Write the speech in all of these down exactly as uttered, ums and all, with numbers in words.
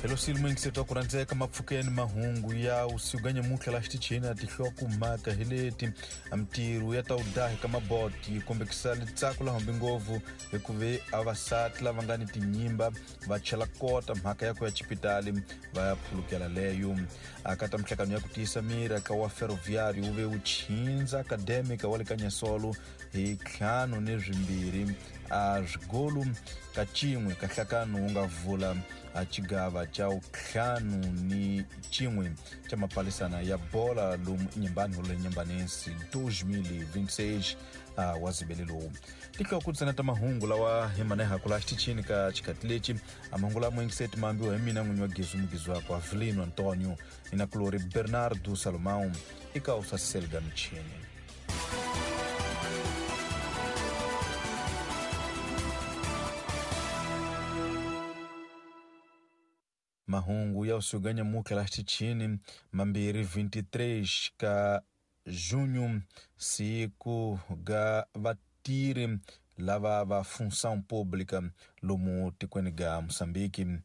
Hello muyingiseti wa ku rhandzeka mapfukeni mahungu ya usiku ga nyamuntlha la xitichini a tihlokomhaka hi leti mintirho ya ta udahi ka maboti yi kombekisa litsako la hambi ngopfu hikuva avasati lava nga ni tinyimba va chela kota mhaka ya ku ya xipitali va ya phulukela leyo. Akata mihlangano ya ku tiyisa miri aka wa Ferroviário wu ve wu chindza Acadêmica wa le ka Nyasolo hi ntlhanu ni swimbirhi a swigolu ka cin'we ka nhlakano wu nga vula a xigava xa ntlhanu ni cin'we xa mapalisana ya bola lomu Inhambane holo Inhambanense dois mil e vinte e seis wa zibele lowu. Tihloko ntsena ta mahungu lawa hi manehaku la xitichini ka xikhathi lexi a mahungu lama yingiseti mambiwa hi mina n'winyi wa Gezu Mugizi wakwe Avelino Antonio ni na kulori Bernardo Salomão eka u sasiseliga michini. Mahungu ya usiku ga nyamuntlha la xitichini mambirhi vinte e três ka junho siku ga vatirhi lava va função pública lomu tikweni ga Moçambique.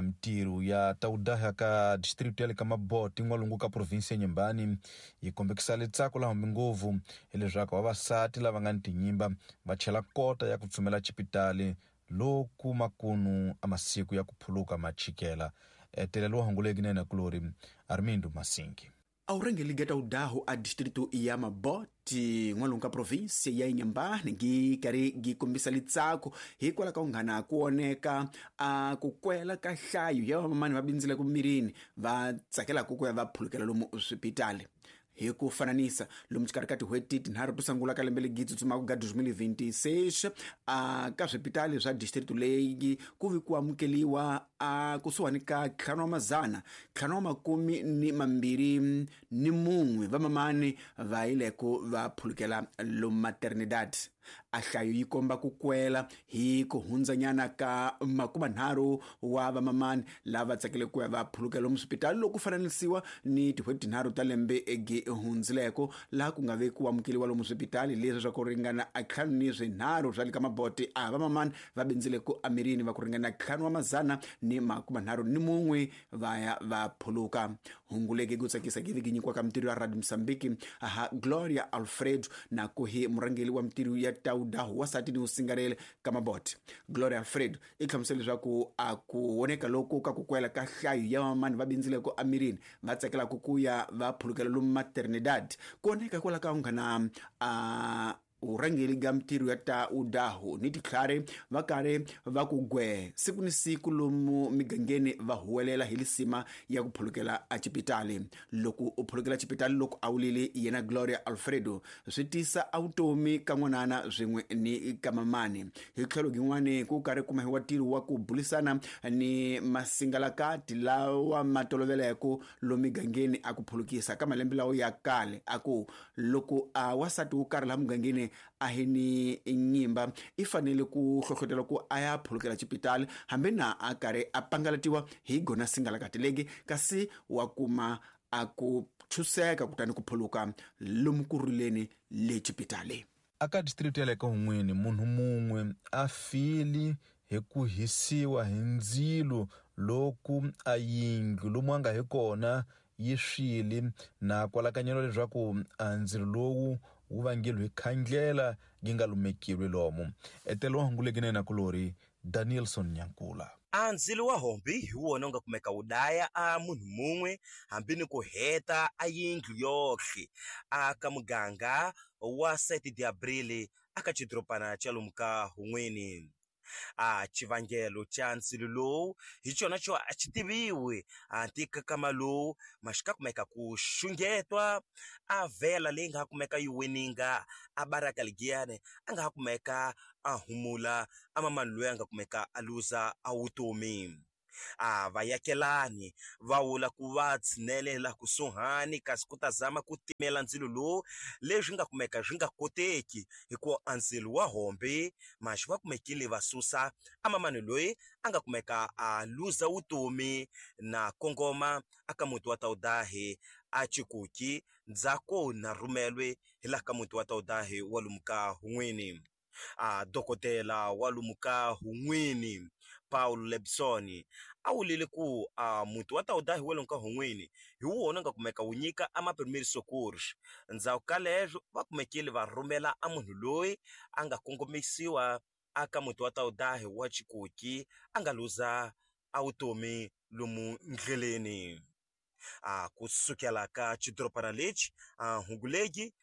Mintirho ya taudaha ka distrito ya le ka Maboti n'walungu ka provinsi ya Inhambane yi kombekisa litsako la hambi ngopfu hileswaku vavasati lava nga ni tinyimba va chela kota ya ku tsumela xipitali loku makunu a masiku ya ku phuluka machikela. Telelo wa hunguleki nene kulori Armindo Masingi. Aurengeli geta udahu a distrito ya Maboti n'walungu ka provinsi ya Inhambane gi karhi gi kombisa litsako hikwalaho ka ku nghana ku oneka a ku kwela ka nhlayo ya vamamani va bindzile ku mirini va tsakelaka ku ya va phulukela lomu swipitali. Hi ku fananisa lomu xikarhi ka tin'hweti tinharhu to sungula ka lembe legi tsutsumaka ga dois mil e vinte e seis a ka swipitali swa district leyi ku vi ku amukeliwa a kusuhani ka ntlhanu wa mazana ntlhanu wa makume ni mambirhi ni mun'we vamamani va yile ku va phulukela lomu maternidad. A nhlayo yi komba ku kwela hi ku hundzanyana ka makumanharhu wa vamamani lava tsakele ku ya va phulukela lomu swipitali loko ku fananisiwa ni tin'hweti tinharhu ta lembe egi hundzileko laha ku nga ve ku amukeliwa lomu swipitali leswi swa ku ringana a ntlhanu ni swinharhu swa le ka Maboti a vamamani va bindzile ku amirini va ku ringana ntlhanu wa mazana ni makumanharhu ni mun'we va ya va phuluka. Hungu legi ku tsakisa gi vi nyikiwa ka mintirho ya Radio Moçambique aha Gloria Alfredo na ku hi murhangeri wa mintirho ya taudahu wasati ni usingarele ka Maboti. Gloria Alfredo i hlamusela leswaku a ku oneka loko ka ku kwela ka nhlayo ya vamamani va bindzile ku amirini va tsakelaka ku ya va phulukela lomu maternidad ku oneka hikwalaho ka nghana a urhangeri ga mintirho ya ta udahu ni titlhari va karhi va ku gwe siku ni siku lomu migangeni va huwelela hi lisima ya ku phulukela a xipitali. Loko u phulukela xipitali loko a wulile yena Gloria Alfredo swi tisa a vutomi ka n'wanana swin'we ni ka mamani. Hi tlhelo gin'wani ku karhi kumahiwa ntirho wa ku bulisana ni masingalakati lawa ma toloveleke lomu migangeni a ku phulukisa ka malembe lawo ya kale a ku loko a wasati wo karhi laha mugangeni a hi ni nyimba i fanele ku hlohlotela ku a ya phulukela xipitali hambi na a karhi a pangalatiwa hi gona singalakati legi kasi wa kuma a ku chuseka kutani ku phuluka lomu ku rileni le xipitali. Aka district ya le ka Hun'wini munhu mun'we a fili hi ku hisiwa hi ndzilo loku a yindlu lomu a nga hi kona yi swile na kwalakanyelo leswaku a ndzilo lowu wu vangeliwe hi khandlela yi nga lumekilwe lomu. Etelo wa hunguleki nene kulori Danielson Nyankula. A ndzilo wa hombi hi wona wu nga kumeka wu daya a munhu mun'we hambi ni ku heta a yindlu yohle a ka muganga wa sete de Abril aka xidorobana xa lomu ka Hun'wini. A xivangelo xa ndzilo lowu hi xona xo a xi tiviwi a nkama lowu ma xi ka kumeka ku xungetwa a vhela leyi nga kumeka yi weninga a baraka ligiyani a nga ha kumeka a humula a mamani loyi a nga kumeka a luza a vutomi. A vayakelani va vula ku va tshinelela kusuhani kasi ku ta zama ku timela ndzilo lowu leswi nga kumeka swi nga koteki hikuva a ndzilo wa hombe maxi va kumekile va susa a mamani loyi a nga kumeka a luza vutomi na kongoma aka muti wa Taudahi a Chikuki ndzhaku na rhumelwe hi laha ka muti wa Taudahi wa lomu ka Hun'wini. A dokodela wa lomu ka Hun'wini Paulo Lebson a wulile ku a muti wa Taudahi wa le ka Hun'wini hi wona nga kumeka wu nyika a ma-primeiros socorros. Ndzhaku ka leswo va kumekile va rhumela a munhu loyi a nga kongomisiwa aka muti wa Taudahi wa Chikoki a nga luza a vutomi lomu ndleleni. A kusukela ka xidorobana lexi a Hungulegi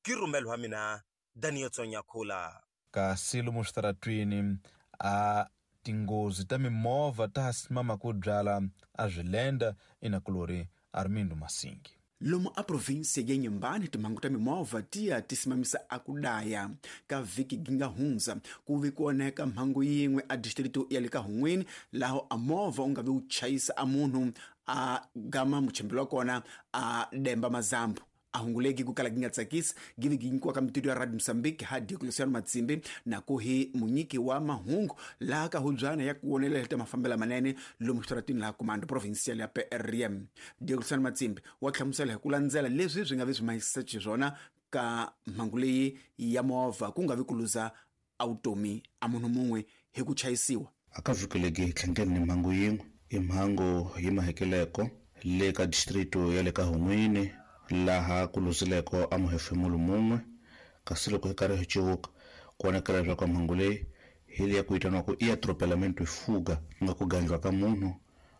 ki rhumelo wa mina Daniel Tsonyakhula. Kasi lomu switaratwini a tinghozi ta mimovha ta ha simama ku byala a swilenda inakulori Armindo Masingi. Lomu a provinsia ya Inhambane timhangu ta mimovha ti ya ti simamisa a ku daya ka vhiki gi nga hundza ku vi ku onheka mhangu yin'we a distrito ya le ka Hun'wini laho a movha u nga vi wu chayisa a munhu a gama muchembelo wa kona a demba mazambu. A hunguleki ku kala gi nga tsakisi gi vi gi nyikiwa ka mitutu ya Radio Mozambique ha Diocleciano Matsimbi na ku hi munyiki wa mahungu laha ka hubyana ya ku wonelela ta mafambela manene lomu xitaratini laha Comando Provincial ya P R M. Diocleciano Matsimbi wa hlamusela hi ku landzela leswi swi nga vi swi mahisa xiswona ka mhangu leyi ya movha ku nga vi ku luza a vutomi a munhu mun'we hi ku chayisiwa. A ka vhiki legi hi tlhangene ni mhangu yin'we i mhangu yi mahekeleko le ka distrito ya le ka Hun'wini laha ku luzileko a muhefemulo mun'we kasi loko hi karhi hi civuka ku vonakala leswaku mhangu leyi hi leya ku vitaniwaku i atropelamento fuga ku nga ku gandliwa ka munhu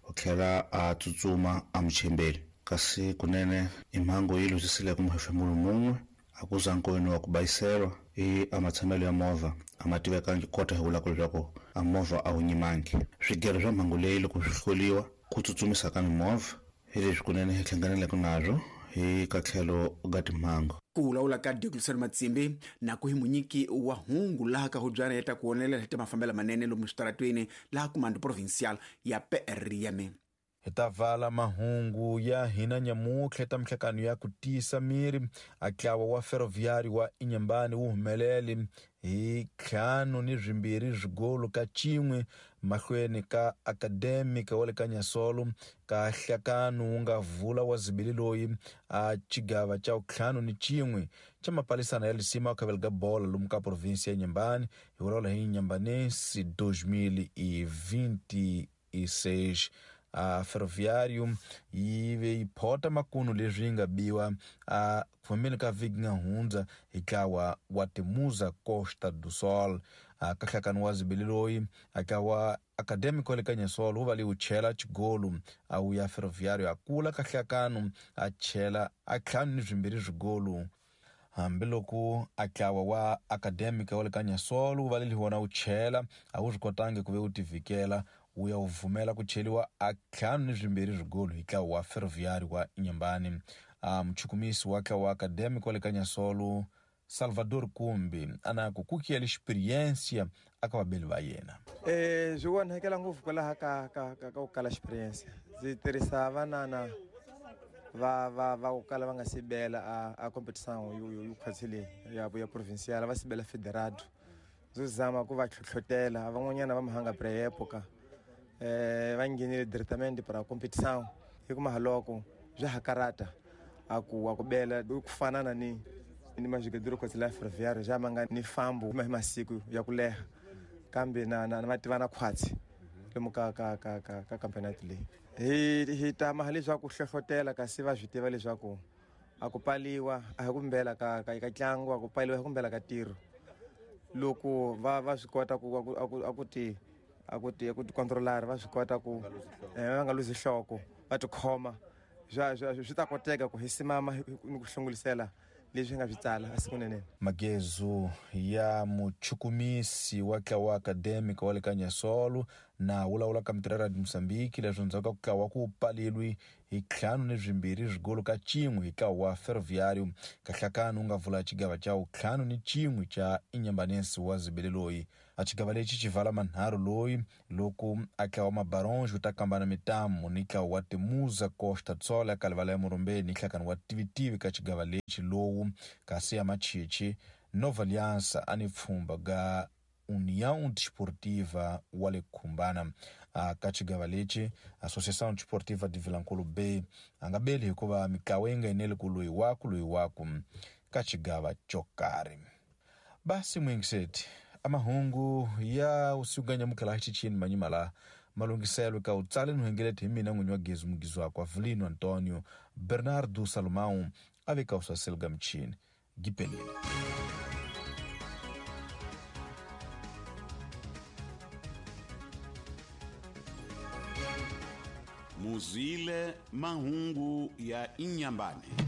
u tlhela a tsutsuma a muchembeli kasi kunene i mhangu yi luzisileko muhefemulo mun'we a ku za nkoyini wa ku bayiselwa i a matshamelo ya movha a ma tivekangi kota hi vulaka leswaku a movha a wu nyimangi. Swigero swa mhangu leyi loko swi hloliwa ku tsutsumisa ka mimovha hi leswi kunene hi hlanganeleke nazwo hi ka tlhelo ga timhangu. Ku vulavula ka Diocleciano Matsimbi na ku hi munyiki wa hungu laha ka hubyana ya ta ku wonelela hi ta mafambela manene lomu switaratwini laha Comando Provincial ya P R M. Hi ta vala mahungu ya hina nyamutlha ta mihlakano ya ku tiyisa miri a ntlawa wa Ferroviário wa Inhambane wu humelele hi ntlhanu ni swimbirhi swigolo ka cin'we mahlweni ka Academic wa le ka Nyasolo ka hlakano wu nga vula wa zibili loyi a xigava xa ntlhanu ni cin'we xa mapalisana ya lisima wa khavela ga bola lomu ka provinsia ya Inhambane hi vulavula hi Inhambanense dois mil e vinte e seis. A Ferroviário yi ve yi phota makunu leswi yi nga biwa a kufambeni ka vhiki nga hundza hi ntlawa wa Temuza Costa do Sol. A ka nhlakano wa zibili loyi a ntlawa Academic wa le ka Nyasolo wu va leyi wu chela xigolo a wu ya Ferroviário a kula ka nhlakano a chela a ntlhanu ni swimbirhi swigolo. Hambiloko a ntlawa wa Academic wa le ka Nyasolo wu va leyi wona wu chela a wu swi kotangi ku ve wu tivikela wu ya wu vumela ku cheliwa a ntlhanu ni swimbirhi swigolo hi ntlawa wa Ferroviário wa Inhambane. A muchukumisi wa ntlawa wa Academic wa le ka Nyasolo Salvador Kumbi a na ku kukiyela experiência aka vabeli va yena. Eh swi onhakela ngopfu kwalaha ka ka ka ku kala experience. Ndzi tirhisa vanana va va va ku kala va nga sibela a a competition yo yo khwatsile ya ya provincial va sibela federado. Ndzi zama ku va tlhotlhotela van'wanyana va mahanga pre-época eh va nghenile directamente para competition hi kuma haloko bya hakarata a ku a ku bela ku fanana ni ni majogador khwatsile ya Ferroviário ja manga ni fambo hi masiku ya ku leha kambe na na va tivana khwatsi lomu ka ka ka ka ka campeonato leyi hi hi tama leswaku hlohlotela kasi va swi tiva leswaku a ku paliwa a hi kumbela ka ka ka ntlangu a ku paliwa hi kumbela ka tiro loko va va swi kota ku a ku a ku ti a ku ti ku ti controlar va swi kota ku va nga luzi nhloko va tikhoma swa swi ta koteka ku hi simama ni ku hlongolisela leswi nga swi tsala asikunene. Magezu ya muchukumisi wa ntlawa Academic wa le ka Nyasolo na wulawula ka mitirho ya Radio Mozambique leswi ndzhaku ka ku tlawa ku palilwi hi ntlhanu ni swimbirhi swigolo ka cin'we hi ntlawa wa Ferroviário ka nhlakano wu nga vula xigava xa ntlhanu ni cin'we xa Inhambanense wa zibele loyi. A xigava lexi xi vala manharhu loyi loko a ntlawa Mabaronge wu ta kambana mitamu ni ntlawa wa Temuza Costa do Sol ya Kalivala ya Murumbeni ni nhlakano wa Tivitivi ka xigava lexi lowu kasi ya Machichi Nova Aliança a ni pfhumba ga União Desportiva wa le Khumbana. A ka xigava lexi Associação Desportiva de Vilankulu B a nga beli hikuva mitlawa yi nga eneli ku loyi waku loyi waku ka xigava xo karhi. Basi mwingiseti Amahungu ya usiku nyamuka la xichini manyima la malunghiselo ka u tsale nuhengeleti hi mina n'winyi wa gezi mugizi wakwe Avelino Antonio Bernardo Salomão a veka u swaselga michini gipelile. Muzwile mahungu ya Inyambane.